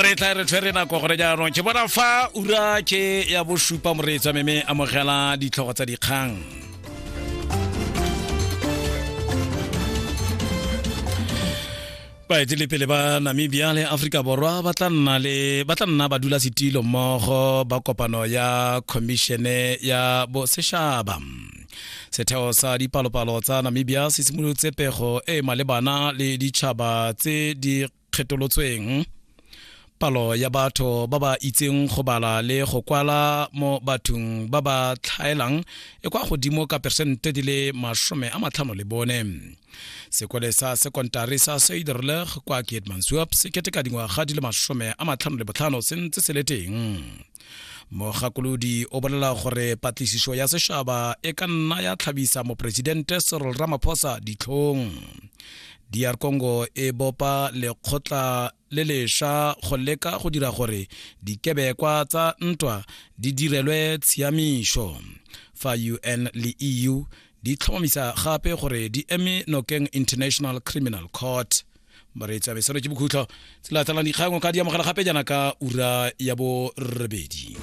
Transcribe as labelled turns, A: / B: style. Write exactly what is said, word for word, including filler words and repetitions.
A: Re tla re tshwere nako gore jaanong ke bona fa ura ke ya bosupa, moreetsi wa meme, amogela ditlhogo tsa dikgang. Baetelepele ba Namibia le Aforika Borwa ba tla nna le ba tla nna badulasetilo mmogo ba kopano ya Khomišene ya Bosetšhaba. Setheo sa dipalopalo tsa Namibia se simolotse pego e e malebana le ditšhaba tse di kgetolotsweng. Palo ya batho ba ba itseng go bala le go kwala mo bathong ba ba tlhaelang e kwa godimo ka persente di le masome a matlhano le bone. Sekole sa sekontari sa Suiderlig kwa Keetmanshoop se keteka dingwaga di le masome a matlhano le botlhano se ntse se le teng. Mogakolodi o bolela gore patlisiso ya sešaba e ka nna ya tlhabisa moporesidente Cyril Ramaphosa ditlhong. D R Congo e bopa lekgotla le lešwa go leka go dira gore dikebekwa tsa ntwa di direlwe tshiamišo, fa U N le E U di tlhomamisa gape gore di eme nokeng International Criminal Court. Moreetsi wa mesano, ke bokhutlo. Tse latelang dikgang o ka di amogela gape jaana ka ura ya borobedi.